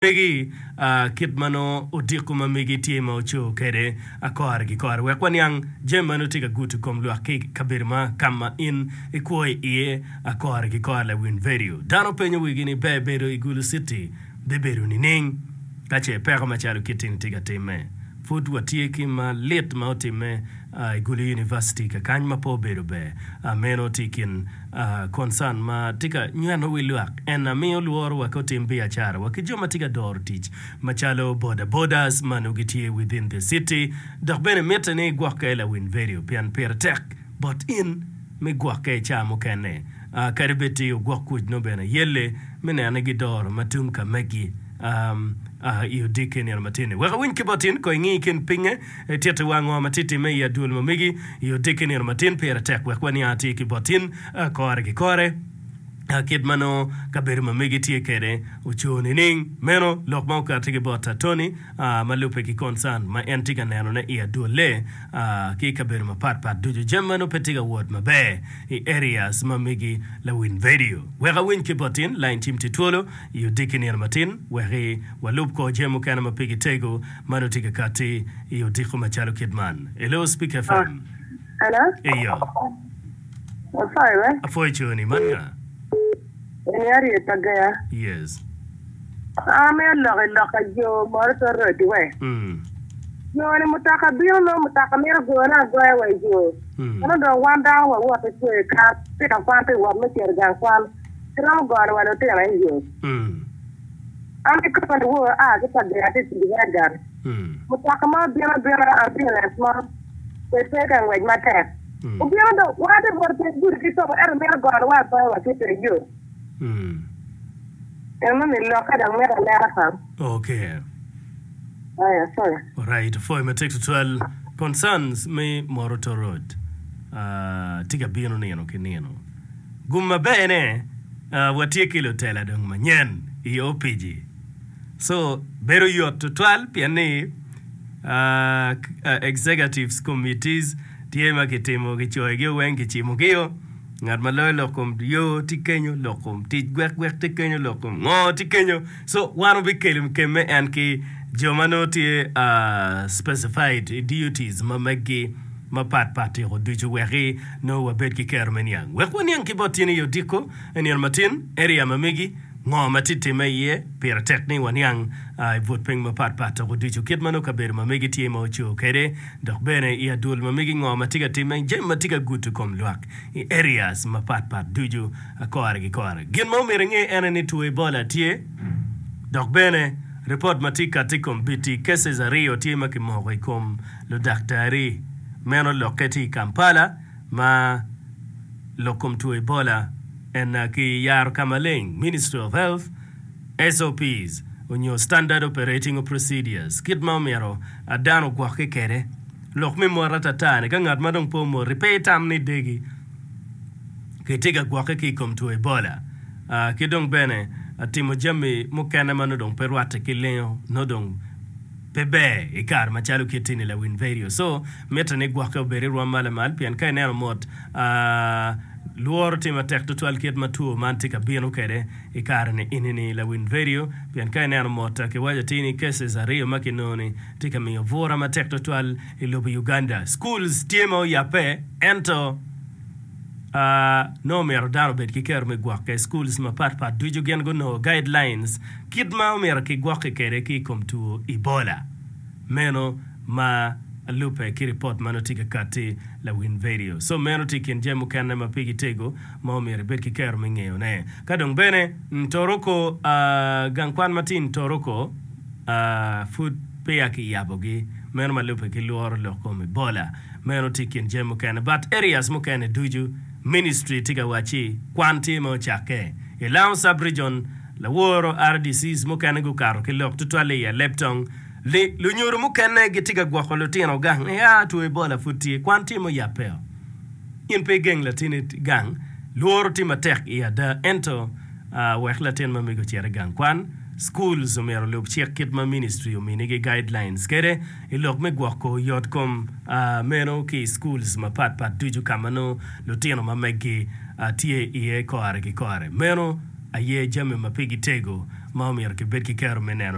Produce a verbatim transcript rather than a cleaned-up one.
Megi kit ma nongo odiko ma megi tye ma oco kwede kore ki kore wek waniang jami ma nongo tye ka gudo kom lwak ki i kabedo ma ka ma in ikwo iye kore ki kore lawiny vedio. Dano penyo wigi ni ber bedo i Gulu City bibedo nining ka ce peko macalo kit-ti-ni tye ka timme. Pud watye ki malit ma otimme i Gulu University kakany ma pe obedo ber. Meno tye i kin concern ma tye ka nyweno wi lwak. En na miyo lworo wa ki otim biacara wa ki jo ma tye ka doro tic macalo boda bodas ma nongo gitye within the city. Dok bene mitte ni igwokke lawiny vedio pien pire tek bot in me gwokke i ca mukene. Kadi bed ti ogwok kuc nongo bene yelle me neno ni gidoro ma tung ka megi i odiki nino matin-ni. Wek awiny ki bot in, ko ingi i kin pinge, itittiwa ngo ma tye timme i adwol ma megi i odiki nino matin. Pire tek wek waniang atir ki bot in kore ki kore kit ma nongo kabedo ma megi tye kwede oco nining. Meno lok ma okatti ki bot Tony ma lubbe ki concern ma en tye ka nenone i adwolle ki i kabedo mapat pat ducu. Jami ma nongo pe tye ka wot maber i areas ma megi lawiny vedio. Wek awiny ki bot in, lain cim tye twolo i odiki nino matin wek walub kor jami mukene ma pigi tego ma nongo tye ka katti i odiko macalo kit man. Hello Speak FM. Hello. Eyo. Apwoyo we. Apwoyo coni. Man nga? Eni Harriet Ageya. Yes. An amito lok i lok pa jo Moroto Road we. Mm. Jo ni mutoka bino nongo mutoka mito gone agoya wa i yo. Mm. Ento dong wan dano wawot ki kwe kal pito kwan pi wot me cito i gang kwan. Kiromo gono wa lutino i yo. Mm. An kikoma ni wor aa ki pa ger atye tic i gang. Mm. Mutoka mo bino abina ambulance mo pe pe ka ngwec matek. Mm. Obino dong wan atye bot piny gudi ki tobo ento mito gono wa agoya wa ki teng yo. Mm. Eno ni lokke dong mito anena kong. Okay. Aya, sorry. Alright, pwoyo matek tutwal. Concerns me Moroto Road uh, tye ka bino nino ki nino. Gum maber ne, uh, watye ki lutela dong manyen i opiji. So, bedo yot tutwal pien ni uh, executives committees tye ma kitimo, kicoyogi weng, kicimogi-o. Ngat ma loyo lok kom yo tye kenyo, lok kom tic gwek gwek tye kenyo, lok kom ngo tye kenyo. So wan wabikelo kemme en ki jo ma nongo tye specified i duties ma meggi mapat pat tyeko ducu weki nongo wabed ki kero me niang. Wek waniang ki bot tin i odiko i nino matin, area ma megi, ngo ma tye timme iye, pire tek ni waniang i but piny mapat pat toko ducu kit ma nongo kabedo ma megi tye ma oco kwede dok bene i adwol ma megi ngo ma tye ka timme, jami ma tye ka gudo kom lwak i areas mapat pat ducu kore ki kore. Gin ma omyero inge en aye ni two Ebola tye dok bene ripot ma tye kati i kom biti cases aryo tye ma kimoko i kom ludaktari meno lokke tye i Kampala ma lok kom two Ebola en ki yaro ka maleng Ministry of Health S O Ps onyo Standard Operating Procedures kit ma omyero dano ogwokke kwede. Lok me mot atata ni ka ngat ma dong pe omoti pe itam ni degi kitye ka gwokke ki i kom two Ebola ki dong bene timo jami mukene ma nongo dong pe rwatte ki lengo nongo dong pe ber i kare macalo kit-ti-ni lawiny vedio. So mitte ni gwokke obed i rwom ma lamal pien ka ineno mot lworo tye matek tutwal kit ma two man tye ka bino kwede i kare-ni eni-ni lawiny vedio pien ka ineno mot kiwaco atir ni cases aryo ma kinongo-ni tye ka miyo bura matek tutwal i lobo Uganda. Schools tye ma oyabbe ento nongo myero dano obed ki kero me gwokke. Schools mapat pat ducu gin gunongo guidelines kit ma omyero kigwokke kwede ki i kom two Ebola. Meno ma lubbe ki ripot ma nongo tye ka katti lawiny vedio. So meno tye i kin jami mukene ma pigi tego ma omyero ibed ki kero me ngeyone. Ka dong bene Ntoroko, gang kwan ma tye i Ntoroko, Pud peya kiyabogi, meno ma lubbe ki lworo lok kom Ebola. Meno tye i kin jami mukene. But areas mukene ducu, ministry tye ka wacci kwan tye ma ocakke. I Lango sub-region, laworo R D Cs mukene gukato ki lok tutwalle i Alebtong ni lunyodo mukene gitye ka gwoko lutino gang ni aa two Ebola pud tye, kwan tye ma oyabbeo. In pe igeng latinni gang, lworo tye matek i ada ento wek latin ma mego ocit i gang kwan. Schools omyero olub cik kit ma ministry ominigi guidelines kede i lok me gwoko yot kom meno ki i schools mapat pat ducu ka ma nongo lutino ma meggi tye iye kore ki kore. Meno aye jami ma pigi tego Ma omyero kibed ki kero me neno.